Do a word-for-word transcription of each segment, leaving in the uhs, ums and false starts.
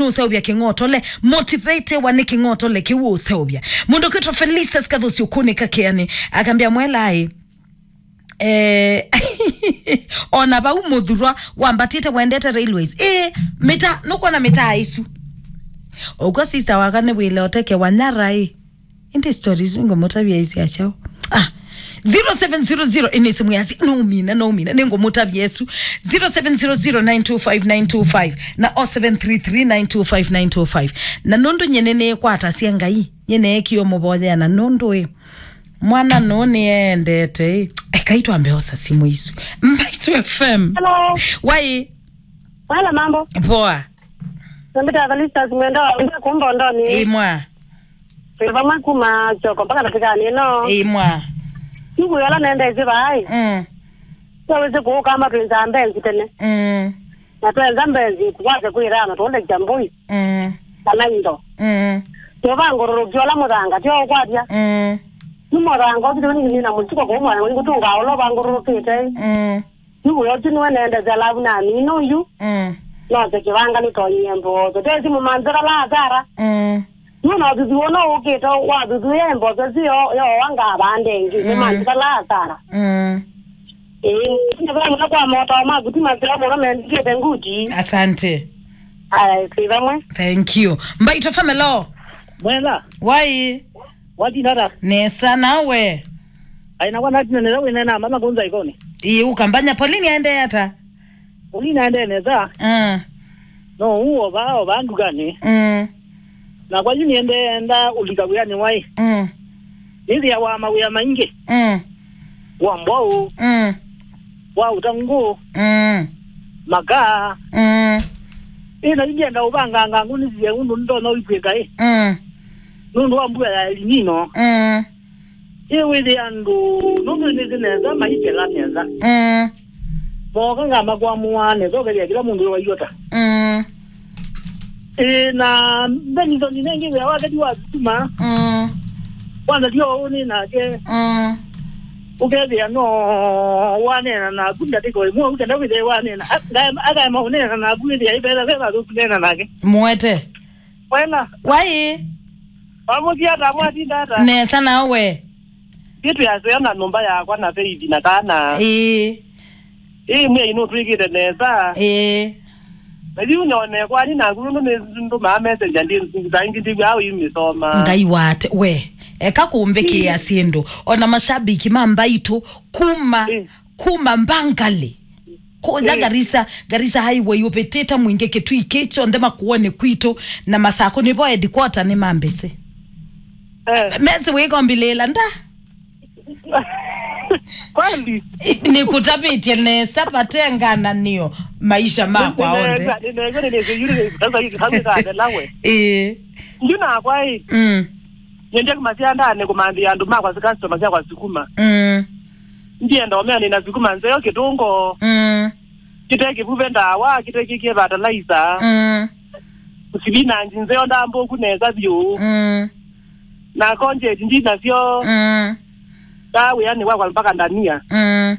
nũseũvya kĩng'otole, motivatewa nĩ kĩng'otole kĩu ũseũvya. Mũndũ kwĩtwa Felicitas Kathusi ũkũnĩka kĩanĩ, akambĩa, "Mwela ĩ, eh, ona vau mũthurwa wambatĩte wendete railways." Ĩ, mĩta, nũkwona mĩtaa ĩsu. Ũkw'a sister waka nĩ wĩle ũtekewa nyara ĩ. Ĩndĩ stories ngũmũtavya isi achaũ. Ah, zero seven zero zero, ĩnĩ simu yasi, no mina, no mina, nĩngũmũtavya ĩsu. Zero seven zero zero nine two five nine two five na oh seven three three nine two five nine two five. Na nũndũ nyene nĩkwatasya Ngai, nyene ekio mũvoyea na nũndũ ĩ, mwana nũ nĩendete ĩ. Ekai twambe osa simu isu. Mbaitu F M. Hello. Wai. Wala mambo. Poa. Nambita Felicitas Mwenda wa Mwenda kumba ndoni. Imwa. Twĩ vamwe kuma Kyoko mpaka Natikani ĩno. Imwa. Siku yola nendesye vai. Mm. Twawĩsĩ kũũkamba twĩnzaa mbenzi tene. Mm. Na twenza mbenzi, tũkwate kwĩthana tũũlekya mbũi. Mm. Kana indo. Mm. Tũvangũrũrũkya ũla mũthanga, tyo ũkwatya. Mm. Nĩ mũthanga ũthi nĩ na mũtuko kũu mwana wingũ tũngaũla ũvangũrũrũkĩte. Mm. Yu wĩotu nĩwe nendete alavu na nini ũyu. Mm. Nose kĩvanga nĩtonyie mboso. Tesi mũmanzĩra la asara. Mm. Yu na ũthuthuo no ũkĩte wathuthuĩa mboso ĩsu yo yowa ngavande ĩngĩ. Mm. Mũmanzĩra la asara. Mm. Ĩĩ, nĩvamũna kwa motao maku ti maseo mũno mendikĩte nguti. Asante. Aya, twĩ vamwe. Thank you. Mbaitũ family. Mwela. Wai. Watinata. Nesa nawe. Aina kwa natina nesa wĩnena mama kunza ikoni. Ii ukambanya Pauline aende ata? Pauline aende nesa. Mm. No uo ba o bandu gani? Mm. Na kwa yuni ende enda ulika wiani wai. Mm. Nithia wa mawia maingi. Mm. Wa mbwau. Mm. Wa utangu. Mm. Makaa. Mm. Ina ndienda ubanga ngangu nithie undu ndona uikwika i. Mm. Nundu wa mbua ya El Nino. Mm. Ĩ wĩthĩa andũ nũndũ nĩthĩ nesa maikela nesa. Mm. Mooka ngamakwamũa nesa ũkethĩa kĩla mũndũ wĩ waiota. Mm. Ĩ na mbenithoni nengĩ wĩa waketi wa sukuma. Mm. Kwanza tio ũũ nĩ nake. Mm. Ũkethĩa no waneena naku ndatĩko ĩmwe ũkenda wĩthĩa waneena. A- ngae- akaema ũneena naku wĩthĩa ĩvela veva thũku neena nake. Mwete. Mwena. Wai. Wamũthia ata mwatinda ata? Nesa nawe. Ĩĩ twĩaseo na nyũmba yakwa na Faith na kana. Ĩĩ. Ĩĩ mwĩai nũtwĩkĩte nesa. Ĩĩ. Na yu nyone kwani naku nũndũ nĩndũmaa messenger ndi saa ingĩ ndiw'aa ũimĩsoma. Ngai wate we. Eka kũmbĩkĩa syĩndũ. Ona mashabiki ma Mbaitũ kuma Ĩĩ. kuma Mbangali. Kũya Ĩĩ. Garissa, Garissa Highway ũvĩtĩte mwingĩ kĩtui kĩ kyonthe Makueni kwitũ na Masakũ nĩvo headquarter nĩ mambĩsĩ. Eh. Mesi wĩkombilĩla nda. Kweli? Nĩkũtavĩtye nesa vate ngananĩo maisha makwa onthe. Nĩnesa, nĩnesa, nĩnesa, yuri, sasa hivi, sasa hivi, sasa hivi, we. Ĩĩ. Ndio nakwa ĩ. Mm. Nĩndĩ kuma syandanĩ kũmanthĩa andũ makwa si customer syakwa sukuma. Mm. Ndienda ũmea nĩna sukuma nzeo kĩtũngo. Mm. Kĩte kĩvuve ndawa, kĩte kĩkie fertilizer. Mm. Sivinanji nzeo ndambũku nesa vyũ. Mm. Na konjeti ndinasyo. Mm. Ndaa wĩanĩ wakwa mpaka ndania. Mm.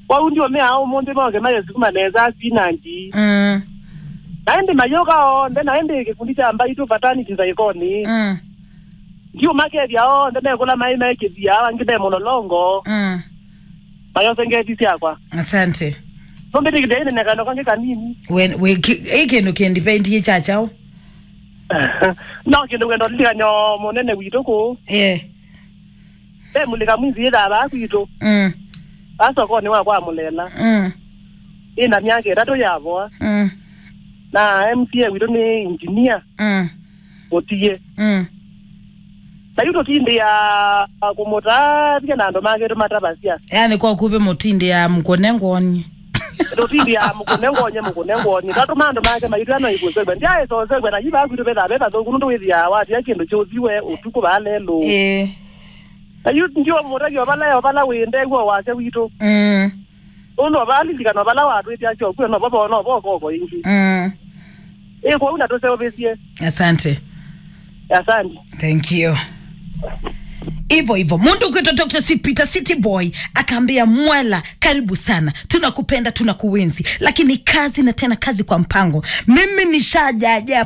Kwau ndio mea ũmũnthĩ moke maye sukuma nesa spinach. Mm. Na ĩndĩ mayũka onthe, na ĩndĩ kĩkundi kya Mbaitũ Paternity Nzaikoni. Mm. Ndiũmakethya onthe mekũla maĩ mekĩthia, angĩ me mũlolongo. Mm. Mayose ngeti syakwa. Asante. Nũmbĩtĩkĩthya ĩnene kando kangĩ kanini. We, we, ki- ĩ kĩndũ kĩndipendie kya kyaũ? No kĩndũ wendo lilikany'o mũnene witũ kũũ. Eh. Ve mũlika mwizi yĩthaa vaa kwitũ. Mm. Vaa sokonĩ wa kwa Mũlela. Mm. Ĩna myaka ĩtatũ yavoa. Mm. Na M C A witũ nĩ engineer. Mm. Mũtie. Mm. Na yu tũtindĩaa kũmũtavya na andũ make tũmatavasya. Yani kwa kuvĩ mũtindĩaa mũkũne ngwoni. Tũtindĩaa mũkũne ngonye, mũkũne ngonye. Tatũma andũ make maitwĩa no ikũsegwa. Ndyaĩsosegwa na yu vaa kwitũ vethaa ve vathũku nũndũ wĩthĩaa watia kĩndũ kyũthiwe ũtukũ vaa lelũ. Ĩĩ. Na yu ndio mũtavya ovala ovala wĩ ndew'o wasya witũ. Mm. Ũndũ vala lilikana vala watwĩtya syokw'e no vavo no vokoko ĩngĩ. Mm. Ĩ kwoou na tũseũvĩsye. Asante. Asante. Thank you. Hivyo hivyo, mundu kwitwa Doctor C Peter City Boy akaambia Mwela, karibu sana, tunakupenda, tunakuenzi, lakini kazi na tena kazi kwa mpango. Mimi nishajaja